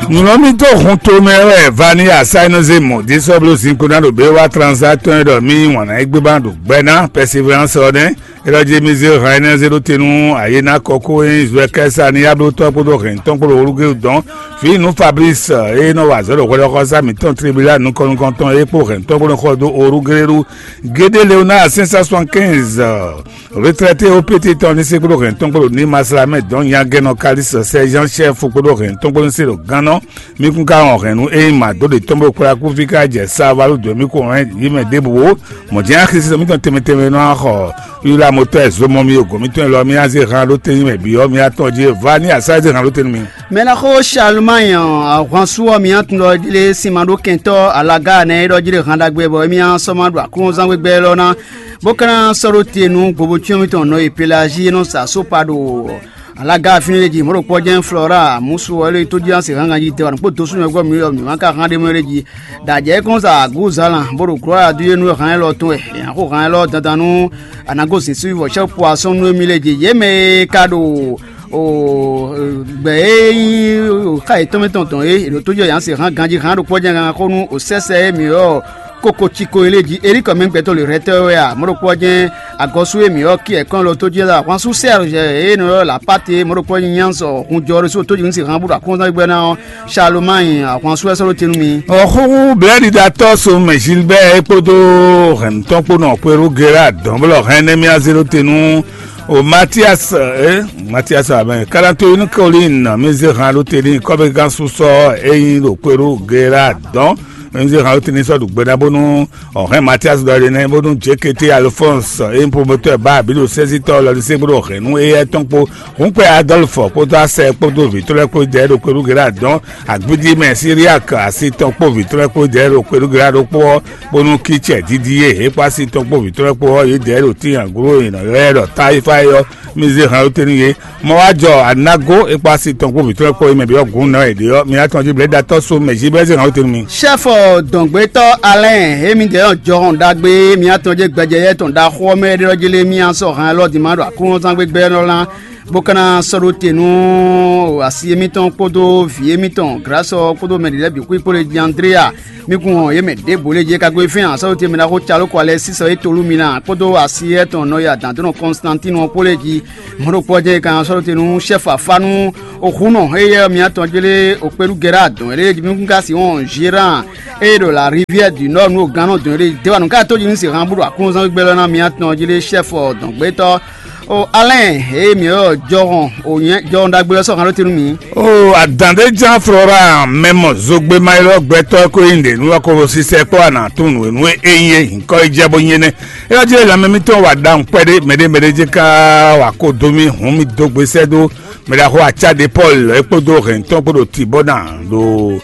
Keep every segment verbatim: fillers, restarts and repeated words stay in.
Nǔlɔ́mítɔ́ hun tomɛ wɛ Vani Asayinɔze mɔ dísɔ́bló zinkpo ná ɖo bé wá transa tɔn e ɖɔ mì wǎn ná yi gbé ba ɖo gbɛ ná Perseverance ɔ́ nɛ́. É ɖɔ jí mì zé hɛn énɛ́ zé ɖó te nú ayé ná kɔ kó e nyí Zuɛkɛ́sa ní yablótɔ́ kpódó hɛ̌ntɔ́ kpódó Olúgéwu dɔn. Fǐ nú Fablísi e nɔ wa azɔ̌ ɖo hwɛɖɔxɔsá mǐtɔn Tlibila nukɔn-nukɔntɔn é kpó hɛ̌ntɔ́ kpó nɔ xɔ dó Olúgéwu Gédé Leonáa sɛ́n sá sɔ́n kɛ́nz. Retraité O P T tɔn ní se kpódó hɛn tɔn kpódó ní masla mɛ dɔn nyagɛnɔ Kalixte Sɛzan Chɛfu kpódó hɛn tɔn kpódó ní se ɖo gannɔ. Mí kún ka wɔn hɛn nú ényí mǎ dó ɖe tɔn bó kplá kú fí ká jɛ Savalu dó mí kó hɛn yí mɛ ɖěbǔ ó. Mɔ̌ jɛ́n axisí mítɔn tɛnmɛ tɛnmɛ nɔ xɔ yúlá motɔ́ ɛ zomɔ mì ogo mítɔn élɔ́ mì azé han ɖó tɛ́nyí mɛ bǐ ɔ́ mì atɔn jí vá ní asá zé han ɖó tɛ́nyí mì. Mɛ ná xó Charlemagne ahwansu ɔ́ mì atun ɖɔ jí lé sin ma ɖó kɛntɔ́ alaga nɛ é ɖɔ jí lé han ɖagbe bɔ émí á sɔ́ ma ɖo aklúnɔzán gbégbé élɔ́ ná bó ka ná sɔ́ ɖó te nú gbobocyɔ́n mitɔn nɔ e Pelazi e nɔ sa sópa ɖo alaga fínɛ́ lé jí mɔ̌ ɖo kpɔ́ jɛ́n Flora musu ɔ́ lé tó jí ná se hángan jí tɛwa nǔkpó dó súnmɛ gbɔ mǐ ɔ́ mǐ ma ka hán ɖé mɔ lé jí. Ɖo ajɛ é kɔn sa agǔzalán bó ɖo glɔ́ adu é nú hán élɔ́ tɔn wɛ è nǎ xo hán élɔ́ dandan nú a nǎ gosín sú vɔ sɛ́ poisɔ́n nú émí lé jí yě mɛ e ka ɖo o gbɛ e nyí xá yětɔn mɛ tɔn tɔn é è ɖo tó jɔ yǎ se hán ganjí hán ɖo kpɔ́ jɛ́n gangan xó nú o sɛ́sɛ e mǐ ɔ́ koko ciko e lé jí elíkɔ mɛ gbɛtɔ́ lě rɛtɛ́ wɛ a mɔ̌ ɖokpó ɔ́ jɛ́n agɔ́sú e mǐ ɔ́ kí ɛ̀kɔn lɔ tó jɛ́n ahwansu sɛ́rjɛ e nɔ ylɔ́ lapáte mɔ̌ ɖokpó ɔ́ nyí nyánzɔ hun jɔ ɖésú tó jǐnú se hán bó ɖo aklúnɔzán gbígbɛ́ ná ɔ́ Charlemagne ahwansu wɛ sɔ́ ɖó te nú mi. Ɔxóxó blɛ́ɖiɖatɔ́ Somɛ Gilbert é kpódó hɛ̌nnutɔ́ kpó nɔ Kwerú Gera dɔ̌nblɔ́ hɛn nɛ́ mì azé ɖó te nú o Matias ɛ Matias abɛ Kalato inú Kolín mì zé han ɖó te ní kɔ́bégán súsɔ é nyí ɖo Kwerú Gera dɔn. Mì zé han ɖó te ní sɔ́ ɖu gbe ná bónú ɔhɛn Matias ɖɔ ɖe nɛ bónú Jekete Alphonse é nyí promotɔ́ ba bǐ ɖo sɛ́sítɔ́ lɔ ní sɛ́ bó ɖo hɛ̌nnu éyɛ́ tɔn kpó. Hǔnkpɛ Adolphe kpódó Asɛ kpódó vǐ tɔn lɛ́ɛ kpó jɛ ɖo Kwerú Gera dɔn. Agbídí mɛ Siriak asi tɔn kpó vǐ tɔn lɛ́ɛ kpó jɛ ɖo Kwerú Gera ɖokpó ɔ́ bónú Kícɛ Didie é kpó asi tɔn kpó vǐ tɔn lɛ́ɛ kpó ɔ́ yě jɛ ɖo tíin aglo e nɔ ylɔ́ ɛ ɖɔ Taifai ɔ́. Mì zé han ɖó te nú yě. Mɔ wá jɔ anágó é kpó asi tɔn kpó vǐ tɔn lɛ́ɛ kpó é mɛ byɔ́ gǔn nɔ è ɖe ɔ́, mi ná tɔn jí blɛ̌datɔ́ so mɛ jí bɛ́ zé han ɖó te nú mi. Ṣɛ́fɔ dɔ̌ngbétɔ́ Alɛ́n e mì ɖě ɔ́ jɔhɔn ɖagbe e mì atɔn jɛ gbɛjɛ yɛ tɔn ɖaxó ɔ́ mɛ ɖé ɔ́ jí lé mì á sɔ́ han élɔ́ din ma ɖo aklúnɔzán gbégbé ɔ́ ná bó ka ná sɔ́ ɖó te nú asi émítɔn kpódó vǐ émítɔn Glásɔ kpódó mɛ ɖě lɛ́ɛ bǐ xwí kpó lé jí Andréa. Mì kún hɔn yě mɛ ɖěbǔ lě jí é ka gosín fɛ́n asɔ́ ce mɛ ná xó caló kɔ alɛ sísɔ é tolú mi ná kpódó asi étɔn nɔyá dǎndónɔ Kɔnstantinu ɔ́ kpó lɛ́ɛ jí. Mɔ̌ ɖo kpɔ́ jɛ́n é ka nɔ sɔ́ ɖó te nú xɛ́fɔ afá nú òhúnɔ éyɛ́ ɔ́ mǐtɔn jlé òkpéɖu Gɛ́ra dɔn é lé jí mì kún ka sixɔn Zéran ée ɖo la rivière du nord nú ògannɔ dɔn é lé déwanu ká tó jí nú sixan bó ɖo aklúnɔzán gbígbɛ́ lɔ ná mǐtɔn jlé xɛ́fɔ dɔn gbétɔ́. O Alɛn, eye mǐ ylɔ́ jɔhɔn o nyɛ jɔhɔn ɖagbe ɔ́ sɔ́ han ɖó te nú mǐ. O adǎn ɖé ján Flora mɛ mɔ zogbe ma ylɔ́ gbɛtɔ́ ko nyí ɖě nú ɔkɔ́vo sísɛ kpɔ́ ana tún nǔ e nú é nyí é nyǐkɔ yi jɛ bó nyí énɛ́. É ɔ́ jí lanmɛ mítɔn wa ɖawun kpɛɖé mɛɖé mɛɖé jɛ́n ká wa ko dó mì hǔn mì dó gbe sɛ́ dó mɛ ɖaxó acá ɖé Pɔ́lu é kpódó hɛ̌ntɔn kpó ɖo Tibɔ́na ɖo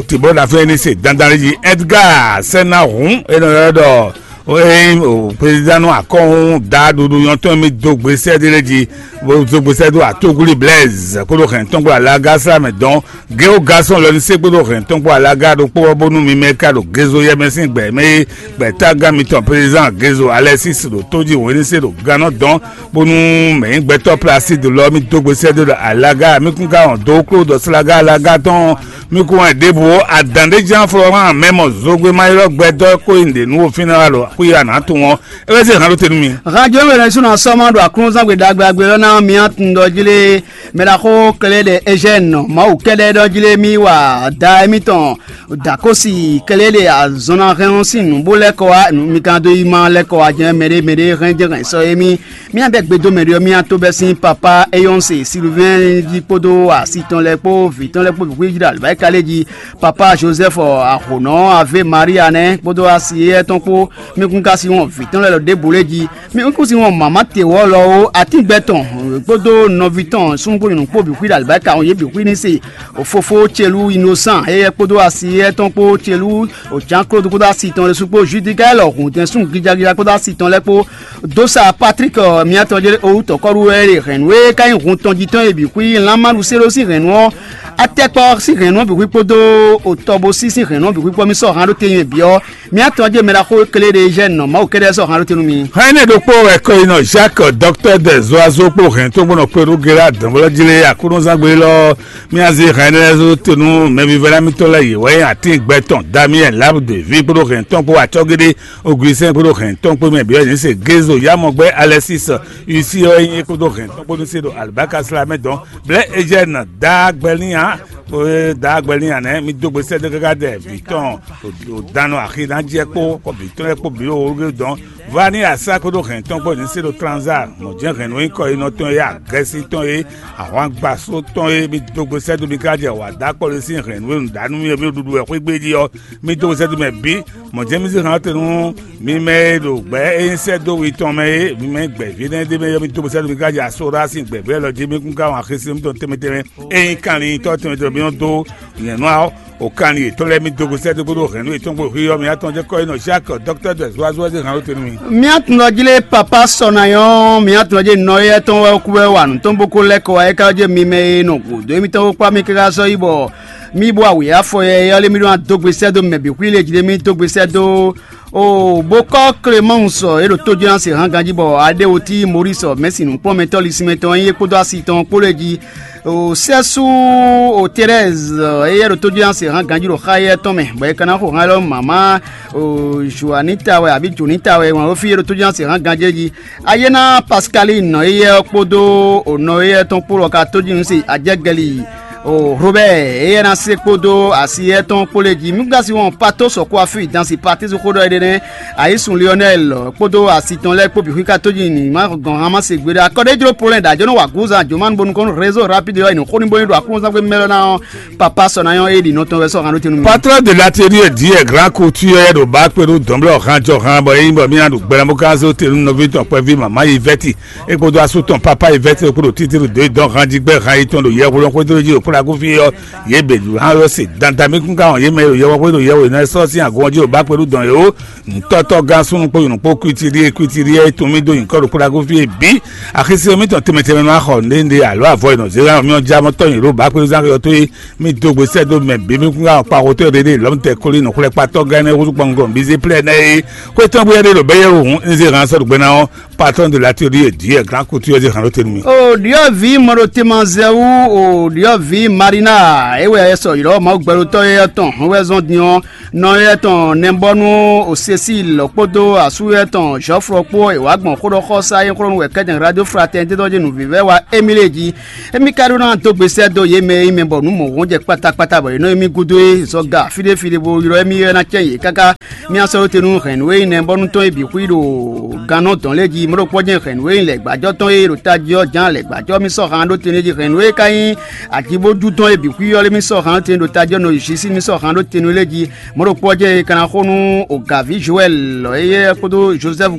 Tibɔ́na fɛ́n ní se dandan jí Ɛdgáa sɛ́ ná hǔn é nɔ ylɔ́ ɖɔ o ényí o prezidán nú akɔ́hún da ɖuɖu nyɔ́tɔn mì dó gbe sɛ́ ɖé lɛ́ɛ jí bó dó gbe sɛ́ dó atógúlí Blaise kpódó hɛ̌ntɔn kpó alága sá mɛ dɔn. Géo Gasɔn lɔ ní sɛ́ kpódó hɛ̌ntɔn kpó alága ɖokpó ɔ́ bónú mi mɛ ka ɖo Gezo yɛmɛ sín gbɛ mɛ é gbɛ̌tágán mitɔn prezidán Gezo Alɛsísi ɖo tó jí wǒ ní se ɖo gannɔ dɔn bónú mɛ nyí gbɛtɔ́ Plasídi lɔ mì dó gbe sɛ́ dó ɖo alága mì kún ka wɔn dó kló ɖɔ slága alága tɔn mì kún wɛn ɖěbǔ adǎn ɖé ján Florán mɛ mɔ zogbe ma ylɔ́ gbɛtɔ́ kó nyi ɖě nú wo fínɛ́ wá ɖo xwíra nǎ tunwun ɔ́ é wɛ zé hǎn ɖó te nú mi. Hánjó mɛ ɖésú nɔ sɔ́ ma ɖo aklúnɔzán gbe ɖagbe agbe ɔ́ ná mi atun ɖɔ jí lé mɛ ɖaxó Klɛ́ɖɛ Eugène Mawu kɛ́ɖɛ́ ɖɔ jí lé mì wa da émítɔn Dakosi Klɛ́ɖɛ azɔn ná hɛn ɔ́ sín nǔ bó lɛ́ kɔ wá mi ka dó yi ma lɛ́ kɔ wá jɛ́n mɛɖé mɛɖé hɛn jɛ́n hɛn sɔ́ émí. Mía bɛ́ gbe dó mɛ ɖé ɔ́, mía tó bɛ́ sín papá Eyɔ́nse Siluvɛ́n jí kpódó asi tɔn lɛ́ɛ kpó vǐ tɔn lɛ́ɛ kpó vǐ xwíjí ɖo alǐbáyíká lé jí. Papá Jozɛ́fu Ahonɔ Avé Maria nɛ́ kpódó asi éyɛ́ tɔn kpó. Mi kún ka sin wɔn vǐ tɔn lɛ́ɛ lɔ ɖěbǔ lé jí. Mi kún sin wɔn mǎmá tewɔ́ lɔ ó, atíngbɛ́ tɔn kpódó nɔví tɔn súnnu kpó nyɔ̌nu kpó bǐ xwí ɖo alǐbáyíká wɔn yě bǐ xwí ní se. Fofó Celú Inosán éyɛ́ kpódó asi Yɛ tɔn kpó Celú Jean Claude kpódó asi tɔn ɖésú kpó Judikaɛl Hǔntɛn súnnu gijagija kpódó asi tɔn lɛ́ɛ kpó. Dósa Patrik miatɔn jɛ owú tɔkɔ́ɖu wɛ ɖe hɛ̌nnu e ka nyí hun tɔn jí tɔn e bǐ xwí Lanmaɖusé ɖó sín hɛ̌nnu ɔ́, Atɛkpɔ sín hɛ̌nnu ɔ́ bǐ xwí kpódó Otɔbosí sín hɛ̌nnu ɔ́ bǐ xwí kpɔ́ mì sɔ́ han ɖó te nyi bǐ ɔ́, miatɔn jɛ mɛ ɖaxó e kle ɖe Eugène nɔ Mawu kɛ́ɖɛ́ sɔ́ han ɖó te nú mi. Hɛn énɛ́ ɖokpó wɛ kɔyinɔ Jacques, docteur des oiseaux kpó hɛn tó gbɔn kpé ɖó Gérard dɔ̌nblɔ́ jí lé Aklúnɔzán gbe élɔ́. Mía zé hɛn énɛ́ lɛ́ɛ zó te nú mɛvívɛ́ná mitɔn lɛ́ɛ yě wɛ nyí atín gbɛ tɔn Damiɛn Labde ví kpódó hɛn tɔn kpó acɔ́géɖé Ogwisɛ́n kpódó hɛn tɔn kpó mɛ bǐ wɛ nyí se Gézo Yamɔgbɛ́ Alɛsísi Isi ɔ́ é nyí kpódó hɛn tɔn kpó nú sé ɖo alibáka sla mɛ dɔn. Blɛ̌ Ejɛ́ni dǎgbɛ́lín ǎ. Ée dǎgbɛ́lín ǎ nɛ́ mi dó gbe sɛ́ dó káká dɛ vǐ tɔn ɖo dano axi ná jɛ kpó kɔ vǐ tɔn lɛ́ɛ kpó bǐ ɖo wóɖó dɔn. Vani asá kpódó hɛn tɔn kpó ní sé ɖo tranza mɔ̌ jɛ́n hɛn nú nyí kɔ e nɔ tɔn e agɛ́sí tɔn e ahwangbasó tɔn e mi dó gbe sɛ́ dó mi ká jɛ wǎ dó akpɔ́ ɖé sín hɛn nú e nǔɖánú mi e mi ɖuɖu wɛ xwé gbe jí ɔ́, mi dó gbe sɛ́ dó mɛ bǐ. Mɔ̌ jɛ́n mi zé hɛn ɔ́ te nú mi mɛ e ɖo gbɛ̌ e nyí sɛ́ dó wi tɔn mɛ é, mi mɛ e gbɛ̌ vǐ énɛ́ ɖé mɛ ɔ́, mi dó gbe sɛ́ dó mi ká jɛ asó ɖó asi gbɛ̌ vɛ́ lɔ jí mi kún ká wɔn axi sí mitɔn tɛnmɛ tɛnmɛ. Ényí kanlin tɔ́ tɔn e mi nɔ dó nyɛ̌nú ɔ́, o kanlin yětɔn lɛ́ɛ mi dó gbe sɛ́ dó kpódó hɛ̌nnu yětɔn kpó xwé ɔ́, mi atɔn jɛ kɔ́ e nɔ Jacques, docteur de Zoazoa zé hɛn ɖó te nú mi. Mía tun ɔ́ jí lé papa sɔ ná nyɔ́, mía tun ɔ́ jí nɔ éyɛ́ tɔn wɛ kú wɛ wa nǔ tɔn bó kó lɛ́ kɔ wá é ká jɛ mi mɛ e nɔ gǔdo émítɔn kpó kpá mi káká sɔ́ yi bɔ mì bo awu yá afɔ yɛ yɛ ɔ́ lé mì ɖó ná dó gbe sɛ́ dó mɛ bǐ xwí lé jí lé mì dó gbe sɛ́ dó. O bó kɔ́ Clémence e ɖo tójúná se hán ganjí bɔ Adéwotí Maurice mɛ̌si nǔkplɔ́nmɛtɔ́ Lisimɛtɔn e nyí é kpódó asi tɔn kpó lɛ́ɛ jí. O sɛ́sú o Thérèse e yɛ ɖo tójúná se hán ganjí ɖo xá yɛ tɔn mɛ bɔ é ka ná xo hán élɔ́ mama o Joanita wɛ abǐ Jonita wɛ wǎn wé fí e ɖo tójúná se hán ganjí é jí. Ayéná Pascaline nɔ éyɛ́ ɔ́ kpódó nɔ éyɛ́ tɔn kpó lɔ ka tójínú se ajɛ́gɛli o Robert éyɛ́ ná se kpódó asi éyɛ́ tɔn kpó lɛ́ɛ jí. Mí gán si wɔn pato sɔkó afí dansi patísi xó ɖɔ éɖée nɛ́. Ayísun Lionel kpódó asi tɔn lɛ́ɛ kpó bǐ xwí ka tójínú ní má gɔn hán má se gbeɖé akɔ́ɖéjló Polɛn ɖo ajɔ́ nɔ wa gǔzan jǒmánú bónú kɔn nú réseau rapide ɔ́ yi nǔ xó ní bónú ɖo aklúnɔzán gbé mɛ́ lɔ ná ɔ́. Papa sɔ́ ná nyɔ́ é ɖi nɔ tɔn wɛ sɔ́ hán ɖó te nú mi. Patron de l'atelier dit grand couture ɖo bǎ kpé ɖó dɔ̌nblɔ́ hán jɔ hán bɔ é nyí bɔ mí ná ɖo gbɛɖamɔkánzó te nú nɔví tɔn kpɛví mama yi vɛ́ti é kpódó asú tɔn papa yi vɛ́ti é kpódó títí ɖo dɔ̌n hán jí gbɛ́ hán yi tɔn ɖo yɛhwelɔ́n xwédó jí ɖo kúɖagúfí ɔ́. Yě bě ɖu hán ɔ́ se dandan mí kún ká wɔn yě mɛ ɖo yɛhwexwé ɖo yɛhwe ná sɔ́ sín agɔn jí ɖo bǎ kpé ɖó dɔn yě ó. Ntɔ́tɔ́ gán súnnu kpó nyɔ̌nu kpó kwítíɖíe kwítíɖíe é tun mì dó nyǐkɔ ɖo kúɖagúfí é bǐ. Axisí ɔ́ mítɔn tɛnmɛ tɛnmɛ nɔ wá xɔ nǔɖé nǔɖé alo avɔ e nɔ zé hán mì ɔ́ já mɔ tɔ́ nyi ɖo bǎ kpé zán xyɔ tó é. Mì dó gbe sɛ́ dó mɛ bǐ mì kún ká kpa xotɔ́ ɖé ɖé lɔ̌mtɛ kólí nɔxwlɛ́kpatɔ́ gán énɛ́ húzú kpɔngun bǐ zé plɛ́ nɛ́ é. Xwé tɔn bú yɛ́ ɖé ɖo bɛ́ yɛ́ hǔn un zé hán sɔ́ ɖo gbe ná ɔ́, patron de l'atelier dit grand couture zé hán ɖó te nú mì. O ɖyɔ̌vǐ mɔɖotemazɛwú, o ɖyɔ̌vǐ Marina, é wɛ ɛ sɔ ylɔ́ Mawu gbɛɖotɔ́ éyɛ́ tɔn hɔn wɛ zɔn din ɔ́, nɔ éyɛ́ tɔn nɛbɔ́nú o Cécile kpódó asú éyɛ́ tɔn Jɔflɔ kpó è wǎ gbɔn xóɖɔxɔsá e xlɔ́ nú wɛ kɛ́tɛn Radio Fraternité tɔn jí nǔvívɛ́ wa Émile jí. Émí ka ɖó ná dó gbe sɛ́ dó yě mɛ e nyí mɛ bɔ nǔ mɔ̌hun jɛ kpátákpátá bɔ yě nɔ émí gúdo é zɔga fí ɖé fí ɖé bó ylɔ́ émí ɔ́ ná cɛ́n yě káká. Mía sɔ́ ɖó te nú hɛ̌nnu e nyí nɛbɔ́nú tɔn e bǐ xwí ɖo gannɔ dɔn lɛ́ɛ jí mɔ̌ ɖokpó jɛ́n hɛ̌nnu e nyí lɛ̌gbajɔ́ tɔn e ɖo tají ɔ́ ján lɛ̌gbajɔ́ mì sɔ́ han ɖó te nú é jí hɛ̌nnu e ka nyí ajibojú tɔn e bǐ xwí ɔ́ lé mì sɔ́ han ɖó te nú ɖo tají ɔ́ nɔ jí sí mì sɔ́ han ɖó te nú lɛ́ɛ jí mɔ̌ ɖokpó jɛ́n e ka ná xo nú o gǎví Joɛl lɔ éyɛ́ kpódó Jozɛ́fu